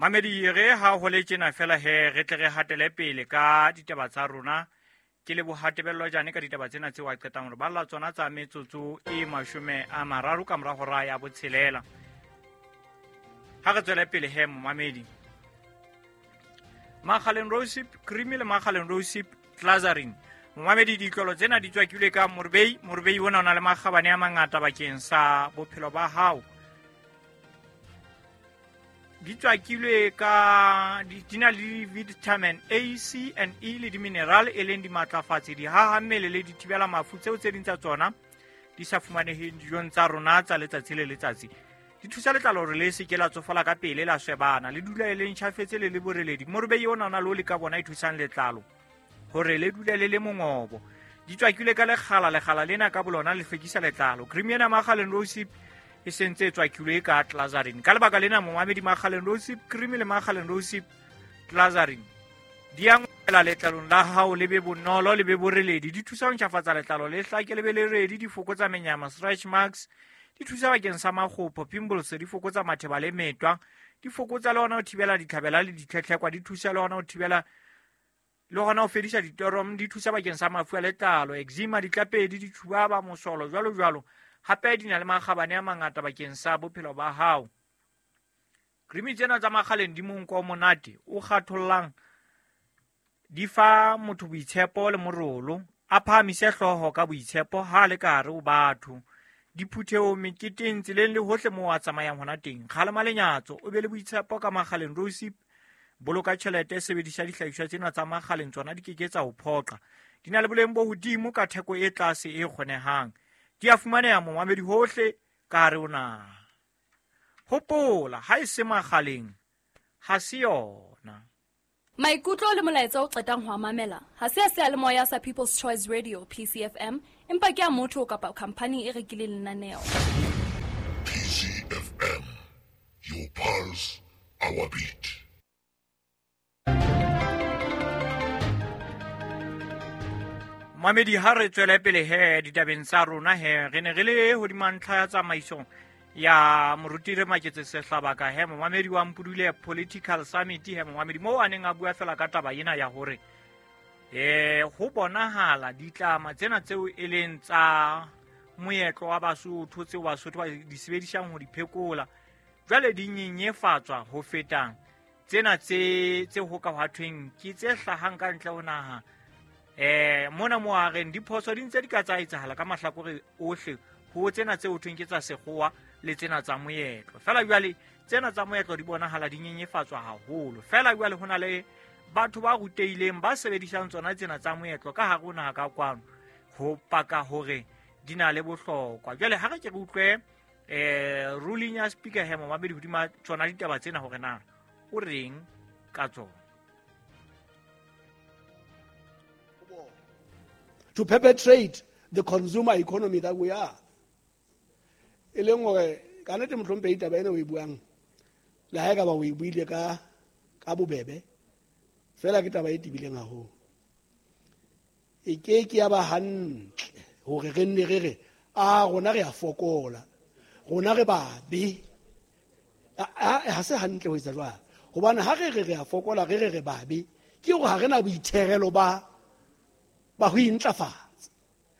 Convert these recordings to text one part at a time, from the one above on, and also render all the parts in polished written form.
Mamedi re ha ho le tjena fela he re tle re hatele pele ka ditaba tsa rona. Ke leboha Tebello Jane ka ditaba tsena tseo a qetang hore balla tsona tsa metsotso e 30 ka mora hora ya 6. Ha re tswele pele he momamedi. Makgaleng Rosip cream le Makgaleng Rosip Glazarin. Momamedi ditlolo tsena di tswakilwe ka morbei. Morbei ona o na le makgabane a mangata bakeng sa bophelo ba hao. Di tswakilwe ka di na le vitamin A, C and E le di-mineral e leng dimatlafatsi, dihaha mmele le dithibela mafu tseo tse ding tsa tsona di sa fumaneheng dijong tsa rona tsa letsatsi le letsatsi. Di thusa letlalo hore le se ke la tsofala ka pele, la swebana, le dula e le ntjhafetse le le boreledi. Morobei ona o na le oli ka bona e thusang letlalo hore le dule le le mongobo. Di tswakilwe ka lekgala, lekgala lena ka bolona le hlwekisa letlalo. Cream ena Makgaleng Rosip e sentse e tswakilwe ka Glazarin. Ka lebaka lena momamedi, Makgaleng Rosip cream le Makgaleng Rosip Glazarin di a ngwela letlalong la hao, le be bonolo, le be boreledi. Di thusa ho ntjhafatsa letlalo, le hlake, le be le redi. Di fokotsa menyama, stretch marks. Di thusa bakeng sa makgopho, pimples. Di fokotsa matheba le metwa. Di fokotsa le hona ho thibela ditlhabela le ditlhetlhekwa. Di thusa le hona ho thibela le hona ho fedisa ditorom. Di thusa bakeng sa mafu a letlalo, eczema, ditlapedi, ditjhubaba, mosolo, jwalo jwalo. Hape di na le makgabane a mangata bakeng sa bophelo ba hao. Cream tsena tsa Makgaleng di monko o monate o kgathollang, di fa motho boitshepo le morolo, a phahamise hlooho ka boitshepo ha a le ka hare ho batho, diphuthehong, meketeng, tseleng le hohle moo a tsamayang hona teng. Kgalema lenyatso, o be le boitshepo ka Makgaleng Rosip. Boloka tjhelete, sebedisa dihlahiswa tsena tsa Makgaleng, tsona di keke tsa ho phoqa. Di na le boleng bo hodimo ka theko e tlase e kgonehang. Di a fumaneha momamedi hohle ka hare ho naha. Hopola, ha e se Makgaleng, ha se yona. Maikutlo le molaetsa o qetang ho a mamela ha se a seyalemoya sa People's Choice Radio PCFM, empa ke a motho kapa khampani e rekileng lenaneo. PCFM, your pulse, our beat. Mamedi, ha re tswele pele he ditabeng tsa rona he re ne re le hodima ntlha ya tsamaiso ya moruti re Maketse Sehlabaka he momamedi wa Mpudule Political Summit he momamedi moo a neng a bua fela ka taba ena ya hore ho bonahala ditlama tsena tseo e leng tsa moetlo wa Basotho tseo Basotho ba di sebedisang ho di phekola jwale di nyenyefatswa ho feta tsena tse ho ka hwathweng ke tse hlahang ka ntle ho naha. Mona mo a reng diphoso di ntse di ka tsa etsahala ka mahlakore ohle ho tsena tse ho thweng ke tsa sekgowa le tsena tsa moetlo. Fela jwale tsena tsa moetlo di bonahala di nyenyefatswa haholo. Fela jwale ho na le batho ba rutehileng ba sebedisang tsona tsena tsa moetlo ka hare ho naha ka kwano ho paka hore di na le bohlokwa. Jwale ha re ke re utlwe ruling ya speaker he momamedi hodima tsona ditaba tsena hore na o reng ka tsona. To perpetrate the consumer economy that we are. E leng hore ka nnete mohlomphehi taba ena o e buang le ha e ka ba o e buile ka bobebe fela ke taba e tebileng haholo. E ke ke ya ba hantle hore re nne re re a rona re a fokola, rona re babe. Ha se hantle ho etsa jwalo, hobane ha re re re a fokola, re re re babe, ke hore ha re na boitherelo ba ho intlafatsa.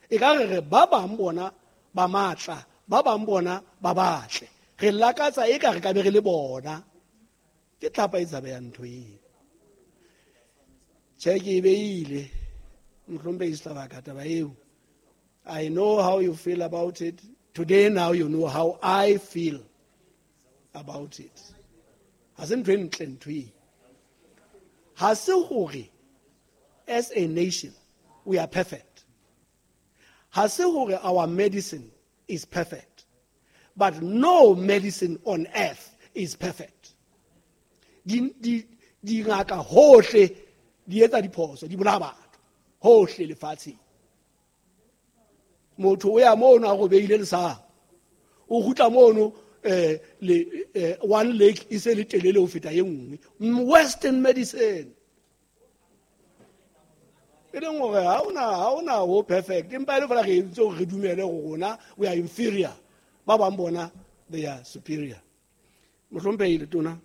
E ka re re ba bang bona ba matla, ba bang bona ba batle, re lakatsa e ka re ka be re le bona. Ke tlhapa e tshabehang ntho eo. Tjhe, ke e beile mohlomphehi Sehlabaka taba eo. I know how you feel about it. Today now you know how I feel about it. Ha se ntho e ntle ntho eo. Ha se hore as a nation we are perfect. Ha se hore our medicine is perfect. But no medicine on earth is perfect. Dingaka hohle di etsa diphoso, di bolaya batho hohle lefatsheng. Motho o ya mono a robeile lesapo, o kgutla mono le one leg e se le telele ho feta e nngwe. Western medicine e leng hore ha ona ho perfect, empa e le feela re entse hore re dumele hore rona we are inferior, ba bang bona they are superior. Mohlomphehi Letona,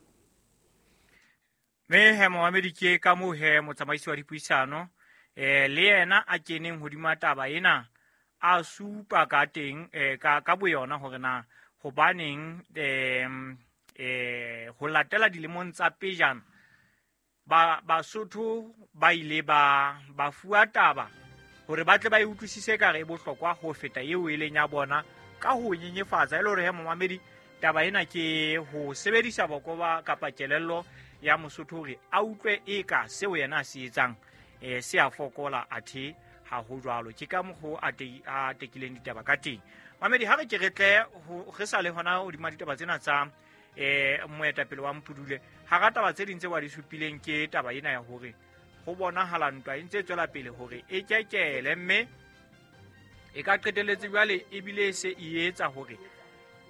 Mme he momamedi, ke ka moo he motsamaisi wa dipuisano le yena a keneng hodima taba ena, a supa ka teng ka boyona hore na hobaneng ho latela dilemong tsa pejana ba Basotho ba ile ba fuwa taba hore ba tle ba e utlwisise ka re e bohlokwa ho feta eo e leng ya bona ka ho nyenyefatsa. E le hore he momamedi, taba ena ke ho sebedisa boko ba kapa kelello ya Mosotho hore a utlwe eka seo yena a se etsang se a fokola, athe ha ho jwalo. Ke ka mokgo a tekileng ditaba ka teng. Mamedi, ha re ke re tle re sa le hona hodima ditaba tsena tsa moetapele wa Mpudule, hara taba tse ding tse wa di supileng ke taba ena ya hore ho bonahala ntwa e ntse e tswela pele hore e kekele, mme e ka qetelletse jwale ebile e se e etsa hore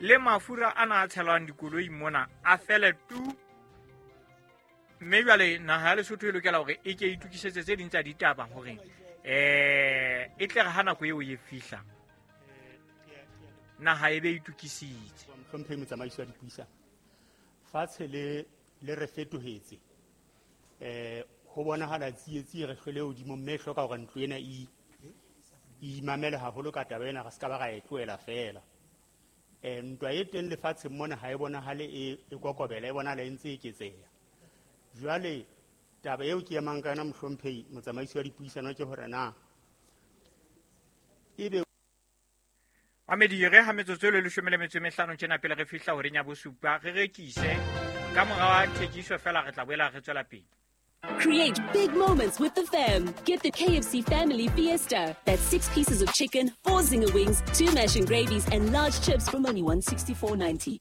le mafura ana a tshelwang dikoloi mona a fele tu. Mme jwale naha ya Lesotho e lokela hore e ke itokisetse tse ding tsa ditaba hore e tle re ha nako eo e fihla naha e be itokisitse. Mohlomphehi motsamaisi wa dipuisano, fatshe le re fetohetse, ho bonahala tsietsi e re hlwele hodimo, mme e hloka hore ntlo ena e imamele haholo ka taba ena, re se ka ba ra e tlohela feela. Ntwa e teng lefatsheng mona ha e bonahale e kokobela, e bonahala e ntse e eketseha. Jwale taba eo ke emang ka yona, mohlomphehi motsamaisi wa dipuisano, ke hore na ebe Mamedi, re ha metsotso e le 15 tjena pele re fihla horeng ya bosupa, re rekise ka mora wa thekiso fela re tla boela re tswela pele. Create big moments with the fam. Get the KFC Family Fiesta. That's 6 pieces of chicken, 4 zinger wings, 2 mash and gravies, and large chips from only $164.90.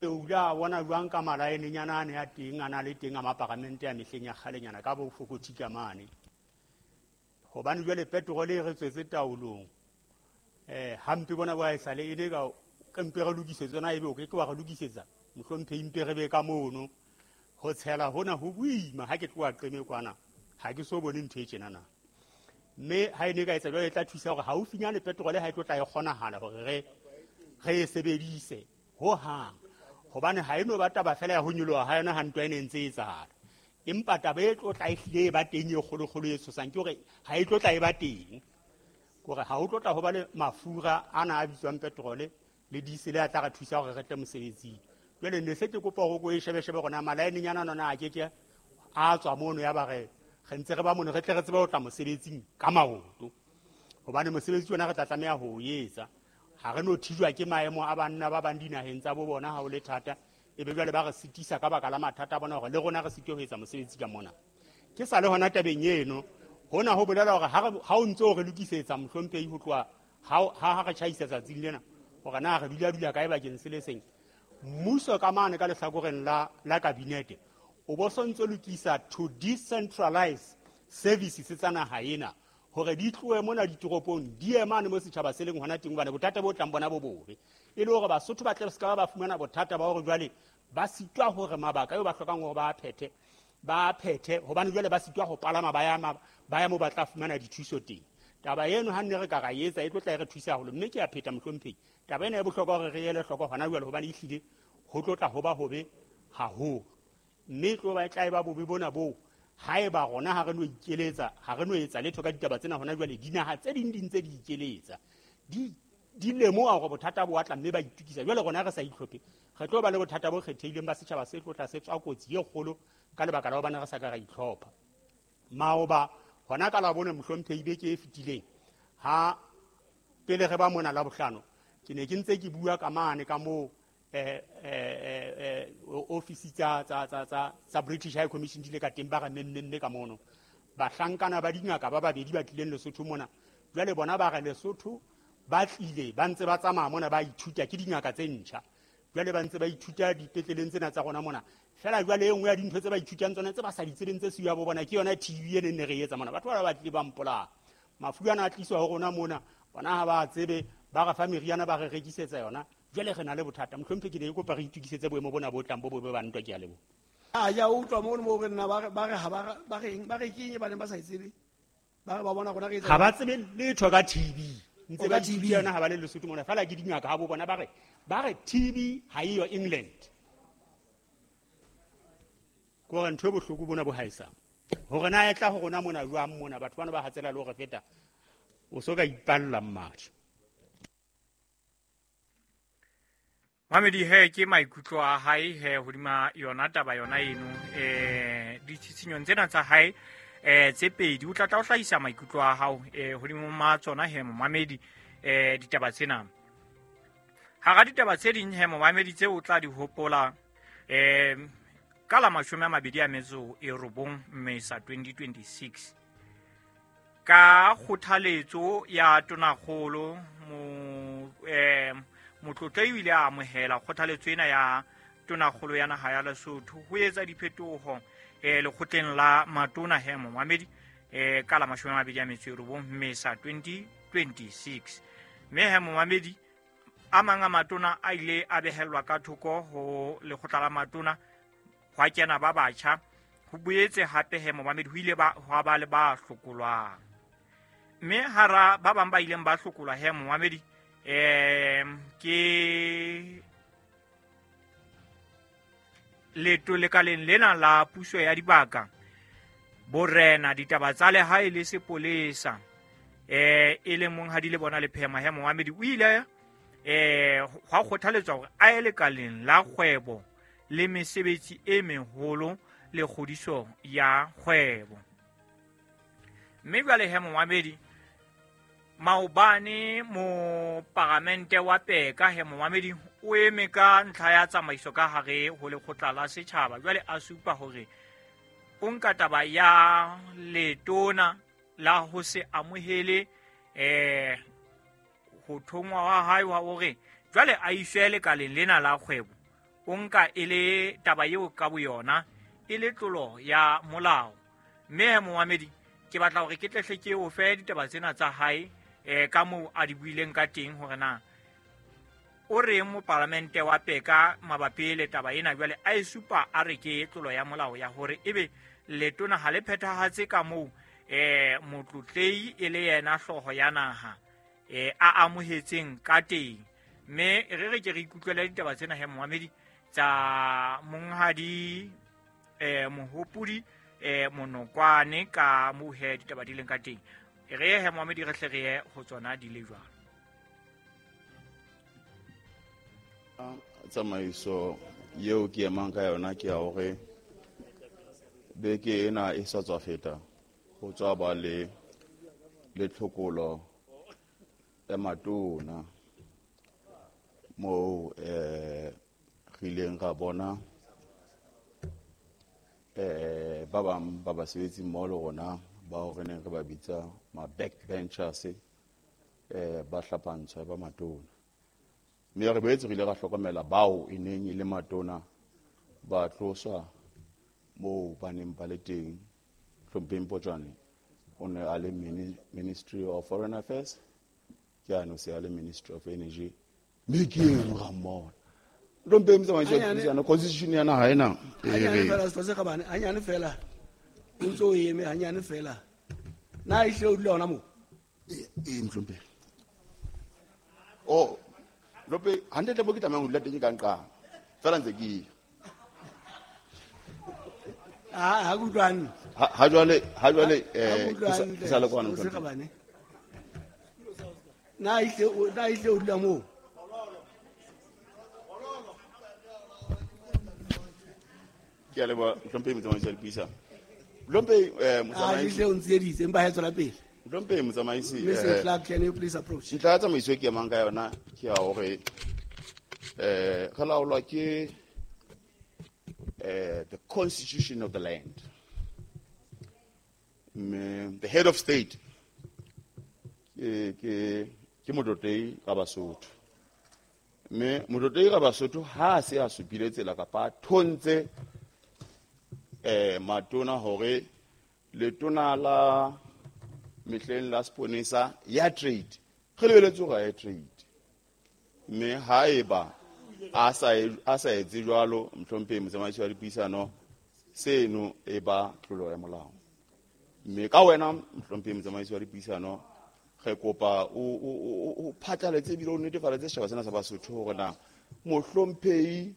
O ile a bona jwang ka malaenenyana a ne a teng, a na le teng a maparamente a mehleng ya kgalenyana ka bo fokothika mane. Hobane jwale petrol e re tswetse taolong. Hampe bona ba e sale e le ka mpe re lokisetse yona, ebe o ke ke wa re lokisetsa, mohlomphehi mpe re be ka mono. Ho tshela hona ho boima, ha ke tloha Qeme kwana, ha ke so bone ntho e tjenana. Mme ha e ne ka etsa jwale e tla thusa hore haufinyane petrol ha e tlo tla e kgonahala hore re e sebedise hohang. Hobane ha e no ba taba fela ya ho nyoloha ha yona ha ntwa e ne ntse e etsahala. Empa taba e tlo tla e hlile e ba teng e kgolokgolo e tshosang ke hore ha e tlo tla e ba teng. Kore ha ho tlo tla ho ba le mafura ana a bitswang petrole le diesel a tla re thusa hore re tle mosebetsing. Jwale ne se ke kopa hore ko e shebeshebe rona malaenenyana nona a keke a tswa mono ya ba re ntse re ba mono, re tle re tsebe ho tla mosebetsing ka maoto. Hobane mosebetsi ona re tla tlameha ho o etsa. Ha re no thijwa ke maemo a banna ba bang dinaheng tsa bo bona ha ho le thata, ebe jwale ba re sitisa ka baka la mathata a bona hore le rona re sitwe ho etsa mosebetsi ka mona. Ke sa le hona tabeng eno, hona ho bolela hore ha o ntse o re lokisetsa mohlomphehi ho tloha ha re tjhaisa tsatsing lena, hore na re dula kae bakeng se le seng. Mmuso ka mane ka lehlakoreng la kabinete o bo sontso lokisa to decentralize services tsa naha ena hore di tlohe mona ditoropong di ye mane mo setjhaba se leng hona teng, hobane bothata bo tlang bona bo bobe. E le hore Basotho ba tle se ka ba fumana bothata ba hore jwale ba sitwa hore mabaka eo ba hlokang hore ba phethe, hobane jwale ba sitwa ho palama ba ya mo ba tla fumana dithuso teng. Taba eno ha nne re ka ra etsa e tlo tla e re thusa haholo, mme ke a pheta mohlomphehi, taba ena e bohlokwa hore re ele hloko hona jwale, hobane ehlile ho tlo tla ho ba hobe haholo. Mme tlo ba tla e ba bobe bona boo haeba rona ha re no ikeletsa, ha re no etsa letho ka ditaba tsena hona jwale. Dinaha tse ding di ntse di ikeletsa, di lemoha hore bothata bo atla, mme ba itukisa. Jwale rona re sa itlhophe, re tlo ba le bothata bo kgethehileng ba setjhaba se tlo tla se tswa kotsi e kgolo ka lebaka la hobane re sa ka ra itlhopha. Maoba hona ka Labone, mohlomphehi, beke e fetileng ha pele re ba mona Labohlano, ke ne ke ntse ke bua ka mane ka moo ofisi tsa British High Commission di le ka teng, ba re memme ka mono. Bahlankana ba dingaka ba babedi ba tlileng Lesotho mona, jwale bona ba re Lesotho ba tlile ba ntse ba tsamaya mona ba ithuta, ke dingaka tse ntjha. Jwale ba ntse ba ithuta dipetleleng tsena tsa rona mona. Fela jwale e nngwe ya dintho tse ba ithutang tsona tse ba sa di tsebeng tse siyo ya bo bona ke yona TB e neng ne re etsa mona. Batho ba tlile ba mpolaya. Mafu ana a tliswa ho rona mona, bona ha ba tsebe, ba re fa meriana ba re rekisetsa yona. Jwale re na le bothata. Mohlomphehi, ke ne ke kopa re itokisetse boemo bona bo tlang bo bobe ba ntwa, ke a leboha. A ja utlwa mono mo re nna ba re ha ba reng, ba re keng ba neng ba sa e tsebe, ba re ba bona rona re etsa. Ha ba tsebe letho ka TB. Ntse ba TB yona ha ba le Lesotho mona, fela ke dingaka ha bo bona ba re TB ha eyo England. Ke hore ntho e bohloko bona bo haesang hore na e tla ho rona mona jwang mona, batho bana ba hatsela le hore feta o so ka ipalla mmatjha. Mamedi he ke maikutlo a hae he hodima yona taba yona eno. Ditshitshinyong tsena tsa hae tse pedi o tla tla o hlahisa maikutlo a hao hodimo ma tsona he momamedi. Ditaba tsena hara ditaba tse ding he momamedi tse o tla di hopola, ka la 29 Mmesa 2026, ka kgothaletso ya tonakgolo Motlotlei o ile a amohela kgothaletso ena ya tonakgolo ya naha ya Lesotho ho etsa diphetoho lekgotleng la matona he momamedi, ka la 29 Mmesa 2026. Mme he momamedi, a mang a matona a ile a behellwa ka thoko ho lekgotla la matona, hwa kena ba batjha. Ho boetse hape he momamedi ho ile hwa ba le ba hlokolwang, mme hara ba bang ba ileng ba hlokolwa he momamedi, ke leto lekaleng lena la puso ya dibaka, borena, ditaba tsa lehae le sepolesa, e leng monghadi le bona Lephema he momamedi. O ile hwa kgothaletswa hore a ye lekaleng la kgwebo le mesebetsi e meholo le kgodiso ya kgwebo. Mme jwale he momamedi, maobane moparamente wa Peka he momamedi o eme ka ntlha ya tsamaiso ka hare ho lekgotla la setjhaba. Jwale a supa hore o nka taba ya letona la ho se amohele ho thongwa wa hae wa hore jwale a iswe lekaleng lena la kgwebo, o nka e le taba eo ka boyona e le tlolo ya molao. Mme momamedi, ke batla hore ke tlehle ke o fe ditaba tsena tsa hae ka moo a di buileng ka teng, hore na o reng mopalamente wa Peka mabapi le taba ena. Jwale a e supa a re ke tlolo ya molao ya hore ebe letona ha le phethahatse ka moo motlotlei e le yena hlooho ya naha a amohetseng ka teng. Mme re ke re ikutlwele ditaba tsena he momamedi tsa monghadi Mohopodi Monokwane ka moo he ditaba di leng ka teng. Re he momamedi re hle re ye ho tsona di le jwalo. Tsamaiso eo ke emang ka yona ke ya hore beke ena e sa tswa feta ho tswa ba le tlhokolo ya matona moo re ileng ra bona ba bang ba basebetsi mmoho le rona bao re neng re ba bitsa ma-backbenchers, ba hlapantshwa ba matona. Mme re boetse re ile ra hlokomela bao e neng e le matona ba tloswa moo ba neng ba le teng. Hlompheng Potjwane o ne a le Ministry of Foreign Affairs, ke ano se a le Ministry of Energy, mme ke eno ra mmona. Hlompheng motsamaisi wa dipuisano, constitution ya naha ena e Hanyane re fela, Setho se Kgabane, hanyane fela. O ntso o eme hanyane fela. Na ehlile o dula hona moo? Ee, Mohlomphehi. Oh, Mohlomphehi, hantle mo ke tlamehang ho dula teng ke ka nqang. Fela ntse ke ya. Ha ke utlwe hantle. Ha jwale, ha jwale, Ha ke utlwe hantle, ke sa le kwana, Setho se Mohlomphehi. Kgabane. Na ehlile o dula moo? Ke a leboha, Mohlomphehi motsamaisi wa dipuisano. Mohlomphehi, Ah, motsamaisi. ehlile o ntsieditse, empa ha e tswela pele. Mohlomphehi motsamaisi, Mister Clark, can you please approach? Ntlha ya tsamaiso e ke emang ka yona ke ya hore, re laolwa ke, the constitution of the land. Mme the head of state ke Motlotlei ka Basotho. Mme Motlotlei ka Basotho ha a se a supile tsela kapa a thontse, matona hore letona la mehleng la seponesa ya trade, re lebeletse hore a ye trade. Mme haeba a sa etse jwalo, Mohlomphehi motsamaisi wa dipuisano, seno e ba tlolo ya molao. Mme ka wena, Mohlomphehi motsamaisi wa dipuisano, re kopa o phatlaletse ebile o netefaletse setjhaba sena sa Basotho hore na Mohlomphehi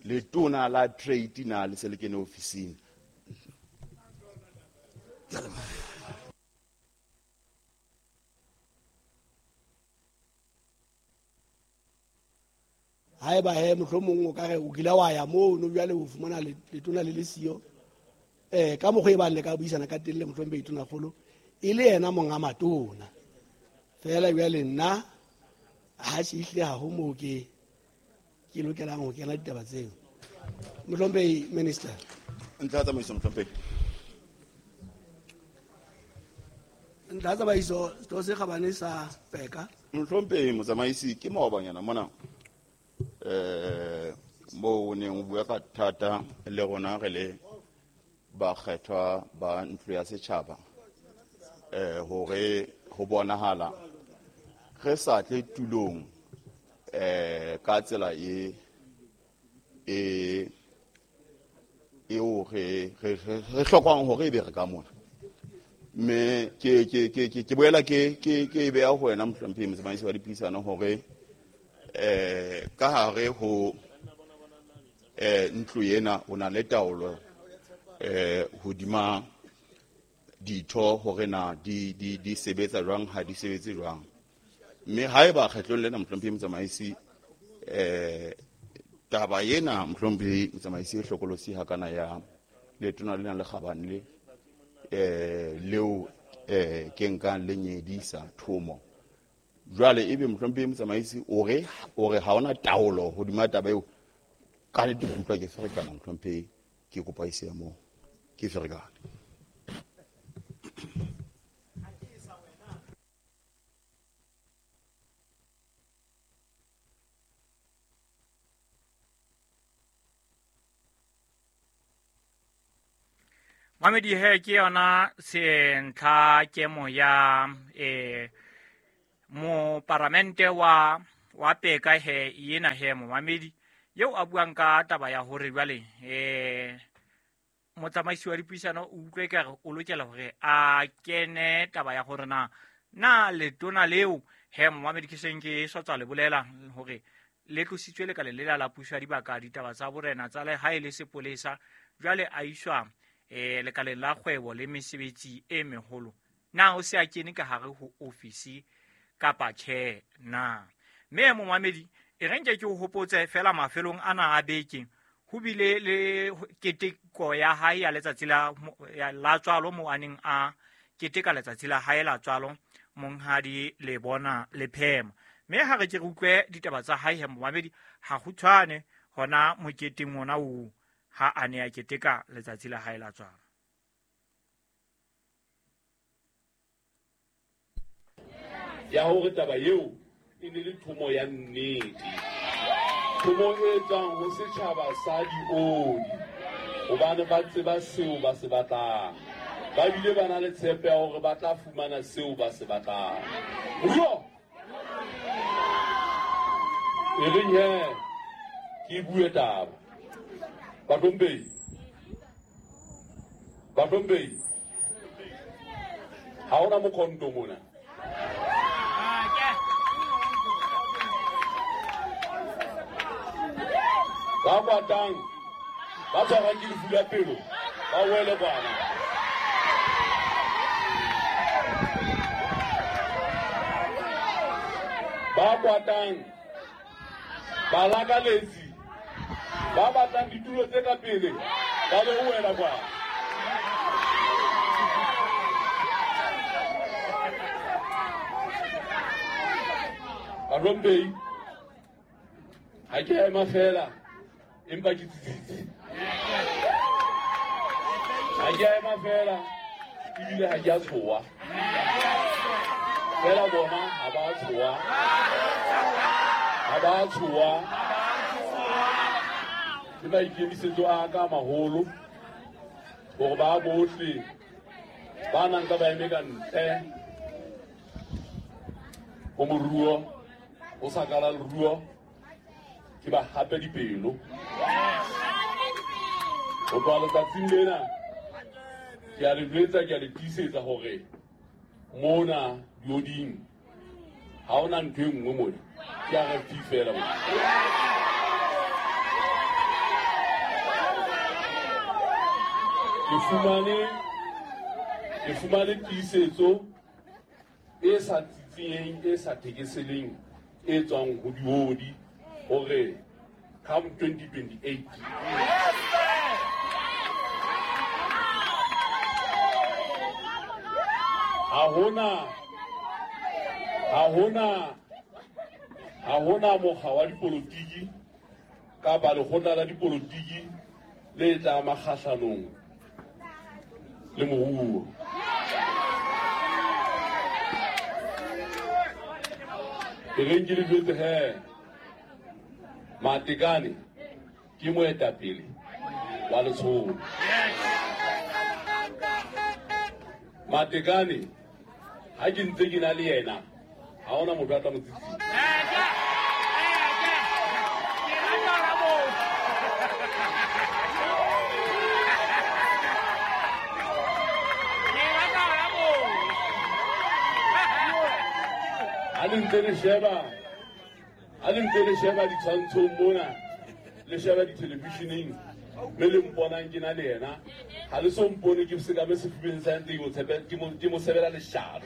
Letona la trade na le se le kene ofising? Haeba he mohlomong o ka re o kile wa ya mono jwale o fumana letona le le siyo, ka mokgwa e bang le ka buisana ka teng le mohlomphehi Tonakgolo e le yena monga matona. Fela jwale nna ha se ehlile ha ho moo ke lokelang ho kena ditaba tseo. Mohlomphehi Minister. Ntlha ya tsamaiso, mohlomphehi. Ntlha ya tsamaiso, setho se kgabane sa Peka. Mohlomphehi motsamaisi, ke maobanyana mona moo o neng o bua ka thata le rona re le bakgethwa ba ntlo ya setjhaba, hore ho bonahala re sa tle tulong ka tsela e eo re hlokang hore ebe re ka mona. Mme ke boela ke beha ho wena mohlomphehi motsamaisi wa dipuisano hore ka hare ho ntlo ena o na le taolo hodima ditho hore na di sebetsa jwang, ha di sebetse jwang. Mme haeba kgetlong lena mohlomphehi motsamaisi taba ena mohlomphehi motsamaisi e hlokolosi hakana ya letona lena le kgabane le leo ke nkang le nyedisa thomo. Jwale ebe mohlomphehi motsamaisi o re ha hona taolo hodima taba eo, ka nnete ke utlwa ke ferekana mohlomphehi, ke kopa e se moo, ke ferekane. Mamedi he ke yona sentlha kemo ya moparamente wa Peka he yena he momamedi eo a buang ka taba ya hore jwale motsamaisi wa dipuisano o utlwe ka re o lokela hore a kene taba ya hore na letona leo he momamedi ke seng ke sa tswa le bolela hore le tlositswe lekaleng lela la puso ya dibaka ditaba tsa borena tsa lehae le sepolesa, jwale a iswa lekaleng la kgwebo le mesebetsi e meholo. Na o se a kene ka hare ho ofisi kapa tjhe na? Mme momamedi e re nke ke o hopotse fela mafelong ana a beke ho bile le keteko ya hae ya letsatsi la tswalo mo a neng a keteka letsatsi la hae la tswalo monghadi Lebona Lephema. Mme ha re ke re utlwe ditaba tsa hae he momamedi ha kgutshwane hona moketeng ona oo ha a ne a keteka letsatsi la hae la tswalo. Ya hore taba eo e ne le thomo ya nnete, thomo e tswang ho setjhaba sa dioli, hobane ba tseba seo ba se batlang, ba bile ba na le tshepo ya hore ba tla fumana seo ba se batlang. Ruo e reng he ke bue taba. Batompehi, ha hona mokhonto mona. Ba kwatang, ba tshwarang ke lefu la pelo, ba wele kwana. Ba kwatang, ba lakaletsi, ba batlang ditulo tse ka pele, ba lo wela kwana. Batompehi, ha ke ema fela empa ke tsitsitse. Ha ke ema fela ebile ha ke a tshoha. Fela bona ha ba tshoha. Ha ba tshoha. Ke maikemisetso a ka maholo hore ba bohle ba nang ka ba eme ka ntle ho moruo, ho sa kala leruo, ke ba hape dipelo. Ho tloha letsatsing lena ke a le jwetsa, ke a le tiisetsa hore mona dioding ha hona ntho e nngwe mona, ke RFP fela mona. Ke fumane tiisetso e sa tsitsiyeng, e sa thekeseleng, e tswang ho diodi hore come 2028 ha hona mokga wa dipolotiki kapa lekgotla la dipolotiki le tla makgahlanong le moruo. E reng ke le jwetse he, Matekane ke moetapele wa letsholo. Matekane ha ke ntse ke na le yena, ha hona motho a tla mo tsitsisa. Ha le ntse le sheba ditshwantshong mona, le sheba dithelevisheneng, mme le mponang ke na le yena, ha le so mpone ke sekame sefubeng sa ntse ke mo sebela leshano.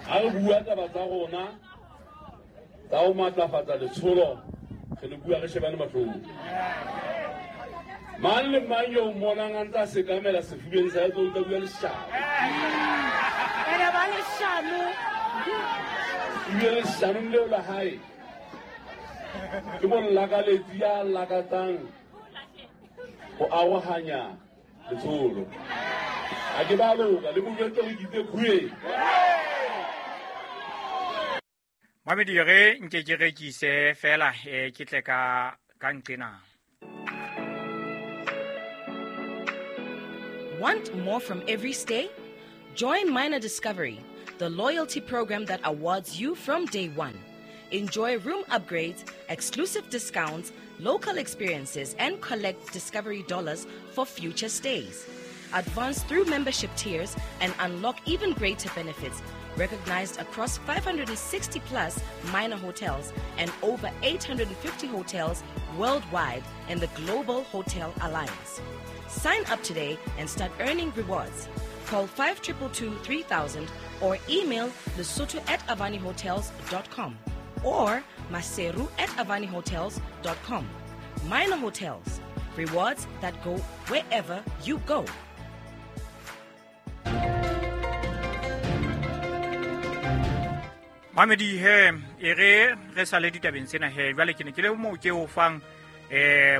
Ha re bua taba tsa rona tsa ho matlafatsa letsholo, re le bua re shebane mahlong. Mang le mang yo mmonang a ntse a sekamela sefubeng sa hae, o tla bua leshano. Ebile leshanong leo la hae ke molakaletsi ya lakatsang ho arohanya letsholo. Ha ke ba loka le mo jwetse hore ke itse khueng. Mamedi re nke ke rekise fela ke tle ka nqena. Want more from every stay? Join Minor Discovery, the loyalty program that awards you from day one. Enjoy room upgrades, exclusive discounts, local experiences, and collect Discovery dollars for future stays. Advance through membership tiers and unlock even greater benefits, recognized across 560 plus minor hotels and over 850 hotels worldwide in the Global Hotel Alliance. Sign up today and start earning rewards. Call 5222 3000 or email lesotho@avanihotels.com or maseru@avanihotels.com. Minor Hotels, rewards that go wherever you go. Mamedi he e re re sale ditabeng tsena he jwale ke ne ke le moo ke o fang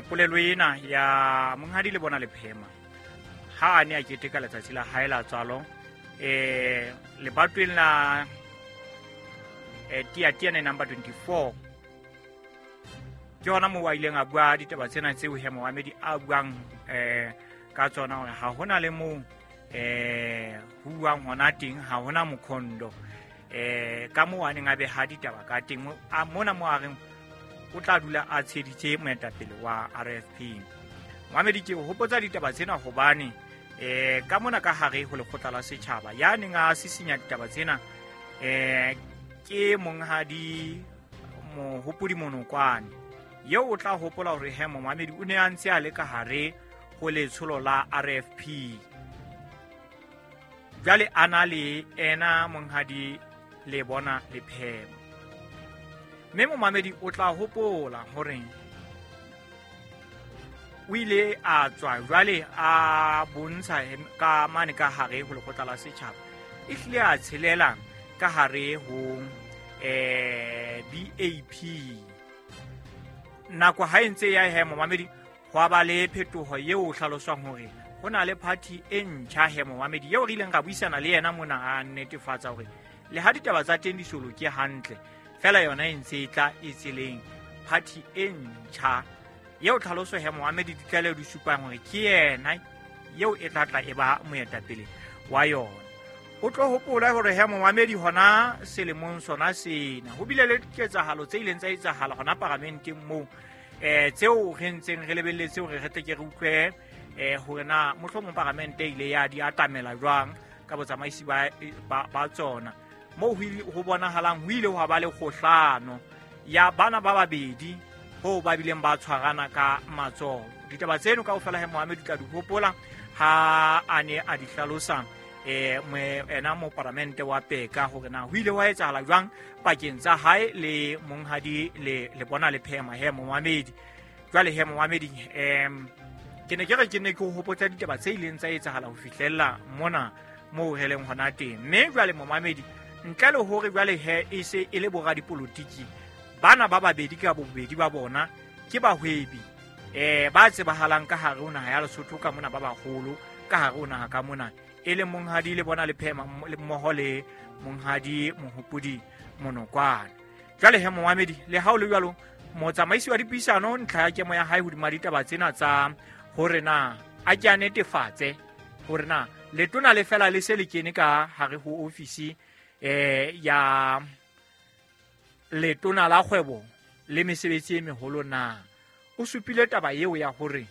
polelo ena ya monghadi le bona Lephema ha a ne a keteka letsatsi la hae la tswalo lebatweng la Tiatiane number 24. Ke hona moo a ileng a bua ditaba tsena tseo he Mohamedi a buang ka tsona hore ha hona le moo ho buang hona teng, ha hona mokhondo ka moo a neng a beha ditaba ka teng. Mona mo a reng o tla dula a tsheditse moetapele wa RFP. Mohamedi ke o hopotsa ditaba tsena hobane ka mona ka hare ho lekgotla la setjhaba ya neng a sisinya ditaba tsena ke monghadi Mohopodi Monokwane eo o tla hopola hore he Mohamedi o ne a ntse a le ka hare ho letsholo la RFP. Jwale a na le ena monghadi le bona Lephema. Mme Momamedi o tla hopola hore o ile a tswa jwale a bontsha ka mane ka hare ho lekgotla la setjhaba, e hlile a tshelela ka hare ho BAP. Nako ha e ntse ya he Momamedi hwa ba le phetoho eo hlaloswang hore ho na le party e ntjha he Momamedi eo re ileng ra buisana le yena mona a netefatsa hore le ha ditaba tsa teng di so loke hantle, fela yona e ntse e tla e tseleng party e ntjha eo tlhaloso he Mohamedi ditlaleho di supang hore ke yena eo e tla tla e ba moetapele wa yona. O tlo hopola hore he Mohamedi hona selemong sona sena ho bile le diketsahalo tse ileng tsa etsahala hona paramenteng moo tseo re ntseng re lebelletse hore re tle ke re utlwe hore na mohlomong paramente ile ya di atamela jwang ka botsamaisi ba tsona. Moo ho bonahalang ho ile hwa ba le kgohlano ya bana ba babedi ho ba bileng ba tshwarana ka matsoho. Ditaba tseno kaofela he Mohammed o tla di hopola ha a ne a di hlalosa ena moparamente wa Peka hore na ho ile hwa etsahala jwang pakeng tsa hae le monghadi le Lebona Lephema he momamedi. Jwale he momamedi, ke ne ke re ke ne ke hopotsa ditaba tse ileng tsa etsahala ho fihlella mona moo re leng hona teng. Mme jwale momamedi, ntle le hore jwale he e se e le boradipolotiki bana ba babedi ka bobedi ba bona ke bahwebi ba tsebahalang ka hare ho naha ya Lesotho ka mona, ba baholo ka hare ho naha ka mona, e le monghadi Lebona Lephema mmoho le monghadi Mohopodi Monokwane. Jwale he momamedi, le ha o le jwalo, motsamaisi wa dipuisano ntlha ya kemo ya hae hodima ditaba tsena tsa hore na a ke a netefatse hore na letona le fela le se le kene ka hare ho ofisi ya letona la kgwebo le mesebetsi e meholo na. O supile taba eo ya hore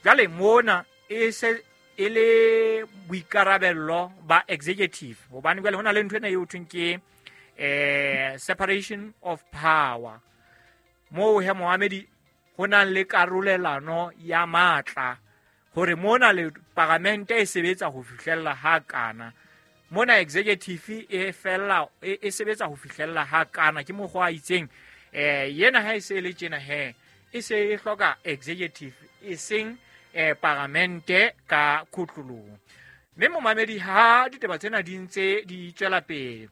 jwale mona e se e le boikarabello ba executive, hobane jwale hona le ntho ena eo thweng ke separation of power, moo he momamedi ho nang le karolelano ya matla, hore mona le paramente e sebetsa ho fihlella ha kana, mona executive e fella e sebetsa ho fihlella ha kana. Ke mokgwa a itseng yena ha e se le tjena he e se e hloka executive e seng paramente ka khotlolong. Mme momamedi, ha ditaba tsena di ntse di tswela pele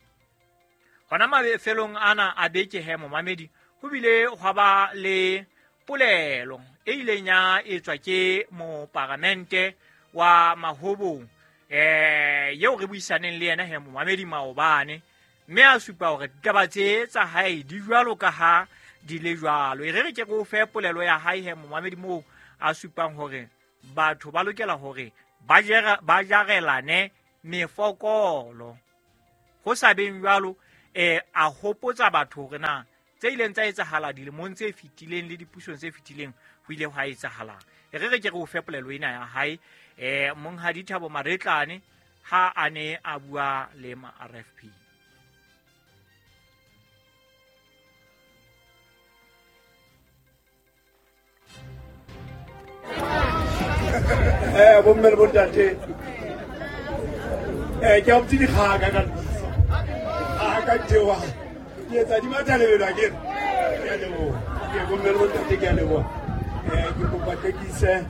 hona mafelong ana a beke he momamedi, ho bile hwa ba le polelo e ileng ya etswa ke moparamente wa Mahobong eo re buisaneng le yena he momamedi maobane, mme a supa hore ditaba tse tsa hae di jwalo ka ha di le jwalo. E re re ke re o fe polelo ya hae he momamedi, moo a supang hore batho ba lokela hore ba jarelane mefokolo. Ho sa beng jwalo, a hopotsa batho hore na tse ileng tsa etsahala dilemong tse fetileng le dipusong tse fetileng ho ile hwa etsahalang. E re re ke re o fe polelo ena ya hae monghadi Thabo Maretlane ha a ne a bua le ma RFP. Bomme le bontate, ke a botse dikgaka ka dikgaka tsewa ke etsa di matha lebelo akere. Ke a leboha, ke bomme le bontate, ke a leboha. Ke kopa tlekise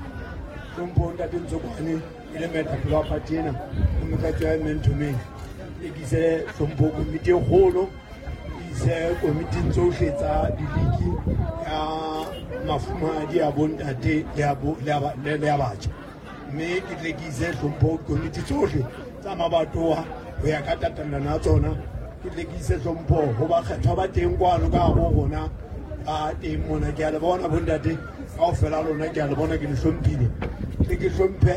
hlompho ntate Ntsokoane e le moetapele wa party ena le motlatsi wa man to man. Ke ise hlompho komiti e kgolo, ke ise komiting tsohle tsa diliki ya mafumahadi a bontate le ya batjha, mme ke tle ke ise hlompho komiti tsohle tsa mabatowa ho ya ka tatellano ya tsona. Ke tle ke ise hlompho ho bakgethwa ba teng kwano ka hare ho rona ba teng mona. Ke a le bona bontate kaofela lona, ke a le bona, ke le hlomphile. Tle ke hlomphe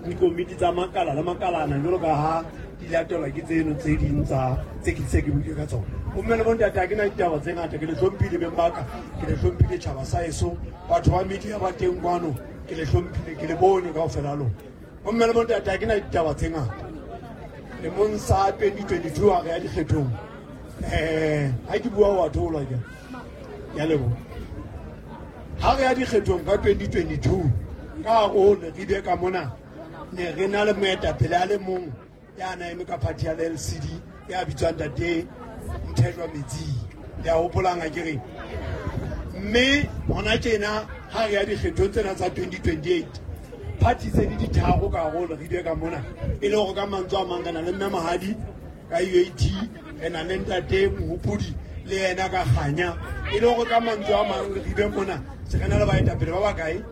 dikomiti tsa makala le makalana jwalo ka ha di latelwa ke tseno tse ding tsa tse ke se ke buile ka tsona. Bomme le bontate, ha ke na ditaba tse ngata. Ke le hlomphile beng ba ka, ke le hlomphile tjhaba sa heso, batho ba media ba teng kwano, ke le hlomphile, ke le bone kaofela lona. Bomme le bontate, ha ke na ditaba tse ngata. Lemong sa 2022 ha re ya dikgethong, ha ke bua wa theolwa ke ya leboha. Ha re ya dikgethong ka 2022 ka hare ho Leribe ka mona, ne re na le moetapele a le mong ya na eme ka party ya LCD ya bitswang ntate Mthethwa Metsing, le a hopolang akere. Mme hona tjena ha re ya dikgethong tsena tsa 2028, party tse di ditharo ka hare ho Leribe ka mona, e le hore ka mantswe a mang re na le mme Mahadi ka UAT, re na le ntate Mohopodi le yena ka Kganya, e le hore ka mantswe a mang Leribe mona se re na le baetapele ba bakae.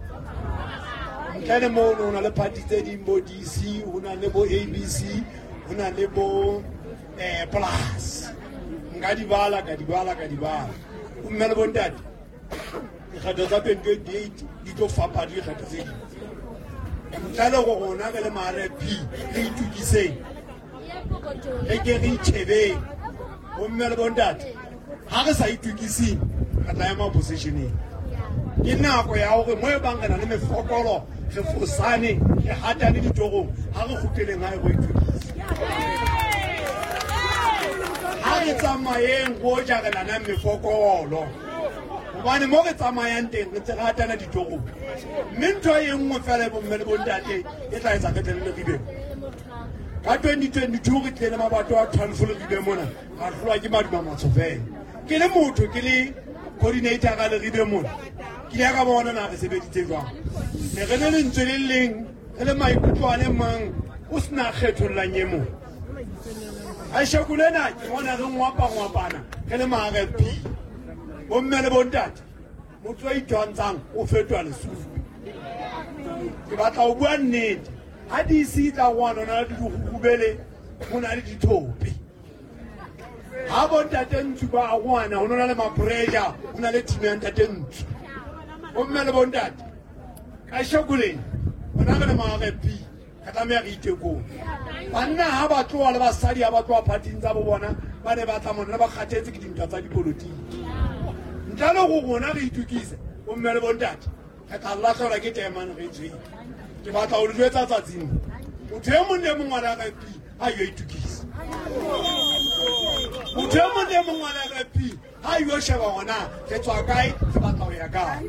Ntle le mono ho na le party tse ding, bo DC, ho na le bo ABC, ho na le bo Plus. Nka di bala, ka di bala, ka di bala. Bomme le bontate, dikgetho tsa 2028 di tlo fapana le dikgetho tse ding. Ntle le hore rona re le ma RFP re itukiseng, re ke re itjhebeng. Bomme le bontate, ha re sa itukiseng re tla ema oppositioneng. Ke nako ya hore mo e bang re na le mefokolo, re fosane, re hatane ditorong, ha re kgutleleng hae ro itukisa. Ha re tsamayeng ro jarelanang mefokolo, Hobane mo re tsamayang teng re tse re hatana ditoropo. Mme ntho e nngwe fela bomme le bontate e tla etsa re tle le Leribe. Ka 2022 re tlile le mabato a 12 Leribe mona, ra hlolwa ke maduma matsho fela. Ke le motho ke le coordinator ka Leribe mona, ke ile ka bona na re sebeditse jwang. Ne re le lentswe le leng, re le maikutlo a le mang, o sena kgethollang e mong. Kasheko lena ke bona re ngwapa-ngwapana re le ma-RFP. Bomme le bontate, motho a itwantshang o fetoha lesupi. Ke batla ho bua nnete. Ha DC e tla kwana, ho na le dirurubele, ho na le dithope. Ha bontate Ntsu ba kwana, ho na le ma-pressure, ho na le team ya ntate Ntsu. Bomme le bontate, kasheko lena rona re le ma-RFP re tlameha re itekong. Banna ha ba tloha le basadi ha ba tloha phathing tsa bo bona, ba ne ba tla mona ba kgathetse ke dintwa tsa dipolotiki. Ntle le go rona re itukise, bomme le bontate, re tla lahlehelwa ke taemane re tswile. Ke batla ho le jwetsa tsatsing, motho e mong le mong wa RFP ha yo itukise. Motho e mong le mong wa RFP ha yo sheba hona re tswa kae, re batla ho ya kae.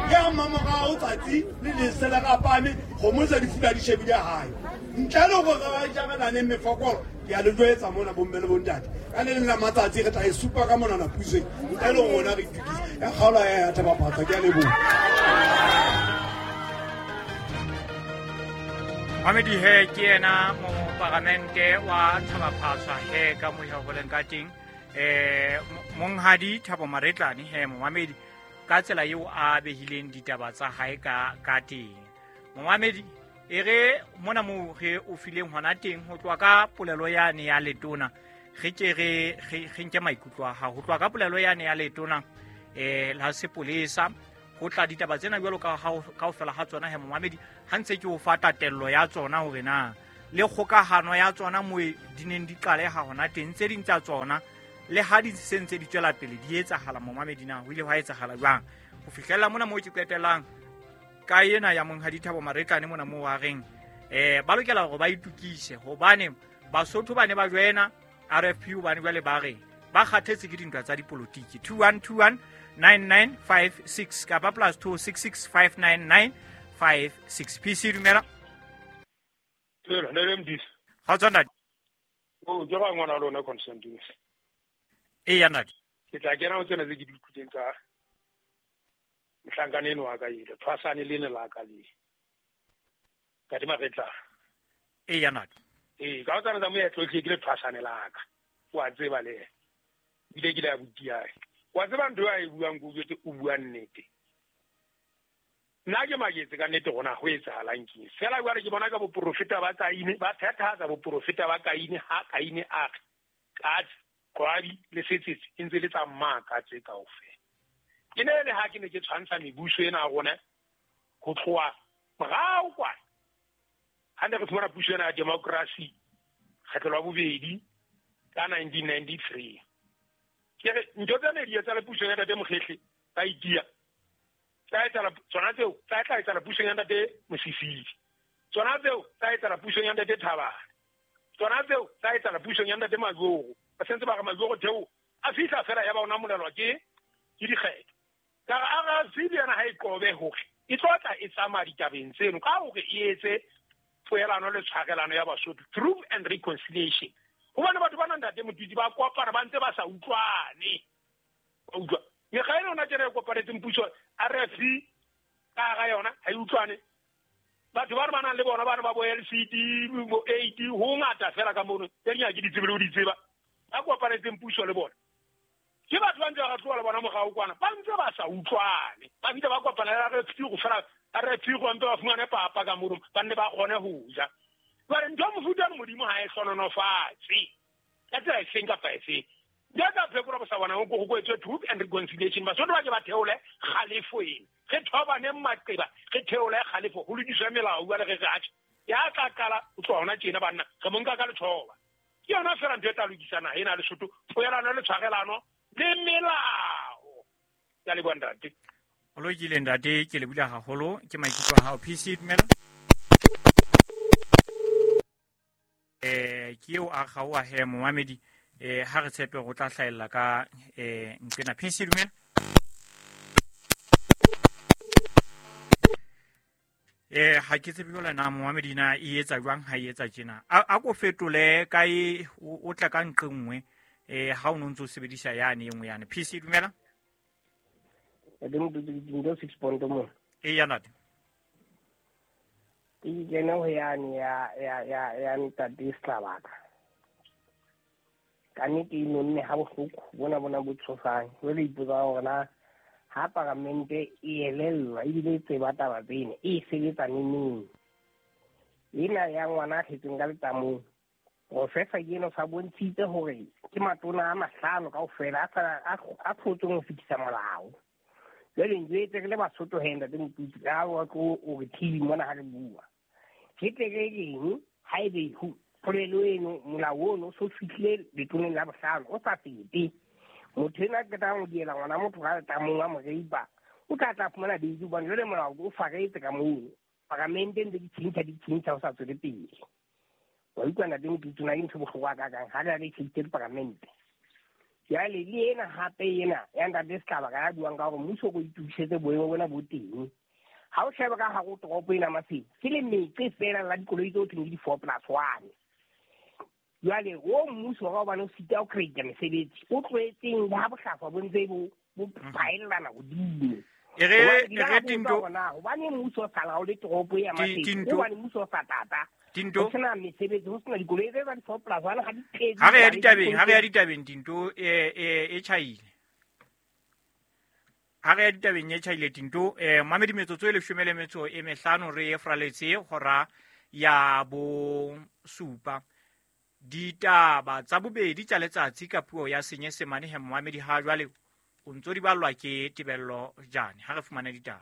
Ke ha mmamorao tsatsi le lese le rapame, kgomo tse di fula di shebile hae. Ntle le hore re jarelane mefokolo, ke a le jwetsa mona bomme le bontate, ka le leng la matsatsi re tla e supa ka monana pusong. Ntle le rona re itukise. Ya kgaola ya Thaba-Phatsa, ke a leboha. Mamedi he ke yena moparamente wa Thaba-Phatsa he ka mo ho leng ka teng. Monghadi Thabo Maretlane he momamedi ka tsela eo a behileng ditaba tsa hae ka teng. Momamedi e re mona moo re o fileng hona teng ho tloha ka polelo yane ya letona, re ke re nke maikutlo a hao ho tloha ka polelo yane ya letona la sepolesa ho tla ditaba tsena jwalo ka kaofela ha tsona he momamedi, ha ntse ke o fa tatello ya tsona hore na le kgokahano ya tsona mo di neng di qaleha hona teng, tse ding tsa tsona le ha di se ntse di tswela pele di etsahala momamedi na ho ile hwa etsahala jwang ho fihlella mona moo ke qetellang ka ena ya monghadi Thabo Maretlane mona moo a reng ba lokela hore ba itukise hobane Basotho ba ne ba joina RFP hobane jwale ba re ba kgathetse ke dintwa tsa dipolotiki. 2121 9956 kapa plus 26659956. PC dumela. Dumela, ntate Mdisa. Ga tswa ntate. O ke ga ngwana lona Constantine. Eya ntate. Ke tla kena ho tsena tse ke di utlwileng tsa mohlankana eno wa ka ele, tshwasane lene la ka le. Ntate Maretla. Eya ntate. Ee, ka ho tsana tsa moetlo ke le tshwasane la ka. Wa tseba le. Bile ke le abuti ya. Wa tseba ntho a e buang go jwetse o bua nnete. Nna ke maketse ka nnete gona ho etsahalang ke. Fela jwale ke bona ka boprofeta ba Kaine, ba phethahatsa boprofeta ba Kaine ha Kaine a re katse, qwabi le setsetse e ntse le tsa mmaka tse kaofela. Ke ne le ha ke ne ke tshwantsha mebuso ena ya rona ho tloha morao kwana. Ha ne re fumana puso ena ya democracy kgetlo la bobedi ka 1993. Ke re ntho tse ne di etsahala pusong ya ntate Mokgehle ba itia. Tsa etsahala tsona tseo, tsa tla etsahala pusong ya ntate Mosisili. Tsona tseo tsa etsahala pusong ya ntate Thabane. Tsona tseo tsa etsahala pusong ya ntate Majoro. Ba sentse ba re Majoro theo a fihla fela ya ba ona molelwa ke dikgetho. Ka re RFP le yona ha e qobe hore e tlo tla e tsamaya ditabeng tseno ka hore e etse poelano le tshwarelano ya Basotho, truth and reconciliation. Hobane batho ba nang ntate Motutsi ba kopana ba ntse ba sa utlwane. Ba utlwa. Mekga ena yona tjena e kopanetseng puso RFP ka hara yona ha e utlwane. Batho ba re ba nang le bona bana ba bo LCD, bo AD, ho ngata fela ka mono. Tse ding ha ke di tsebe le ho di tseba. Ba kopanetseng puso le bona. Ke batho ba ntse ba tloha le bona morao kwana, ba ntse ba sa utlwane. Ba bile ba kopana le RFP go fela RFP go mpe ba fumane papa ka mono, ba nne ba kgone ho ja. Jwale ntho ya mofuta ono Modimo ha e hlononofatse ka tsela efeng kapa efeng. Ntho e tla phekola bosawana ho go etswe truth and reconciliation. Basotho ba ke ba theole kgalefo ena. Re thobaneng maqeba, re theole kgalefo, ho lokiswe melao jwale re re atjhe. Ya tla qala ho tloha hona tjena banna, re mo nka ka lethoba. Ke yona fela ntho e tla lokisa naha ena ya Lesotho, poelano le tshwarelano le melao. Ke a leboha ntate. O lokile ntate, ke lebohile haholo ke maikutlo a hao. PC dumela. Ke eo a kgaoha he momamedi, ha re tshepe go tla hlahella ka nqena. PC dumela. Ha ke tsebe jwale na momamedi na e etsa jwang ha e etsa tjena. A ko fetole kae o tla ka nqe nngwe ha o no ntso sebedisa yane e nngwe yane. PC dumela. Dinto 6 point mo. E ya ntate. Ke kene ho yane ya ntate Slabaka. Ka nnete e nonne ha bohloko bona bo tshosang. Jwale ipotsa hore na ha paramente e elellwa ebile e tseba taba tsena e sebetsa neneng. Ena ya ngwana a tletseng ka letamong. Professor eno sa bontshitse hore ke matona a mahlano kaofela a tlhotseng ho fetisa molao. Jwale njwetse re le Basotho he ntate Motutsi ka wa tlo o re thibi mona ha re bua. Ke tle re reng haebe polelo eno molao ono so fihlile letoneng la bohlano o sa fete. Motho ena a qetang ho diela ngwana motho ka letamong a mo reipa o tla fumana bail hobane jwale molao o faretse ka moo. Paramente ntse di tjhentjha ho sa tswele pele. Wa utlwa ntate Motutsi na ke ntho bohlokwa hakakang ha re tjhentjhe diparamente. Jwale le ena hape ena ya ntate Setlaba ka ya buang ka hore mmuso o itokisetse boemo bona bo teng. Ha o sheba ka hare ho toropo ena Maseru, ke le metse feela la dikoloi tse thweng ke di-4+1. Jwale o mmuso ka hobane o sita ho create mesebetsi, o tlohetseng le ha bohlaswa bo ntse bo phaellana hodimo. Ere Tinto hobane mmuso o sa laole toropo ya Maseru, hobane mmuso o sa tata. Tinto ho sena mesebetsi, ho sena dikoloi tse tsa di-4+1 ha di tletse. Ha re ya ditabeng Tinto e tjhaile. Ha re ya ditabeng e tjhaile Tinto mamedi metsotso e 15 re e fraletse hora ya bo supa. Ditaba tsa bobedi tsa letsatsi ka puo ya Senyesemane he momamedi ha jwale o ntso di ballwa ke Tebello Jane. Ha re fumane ditaba.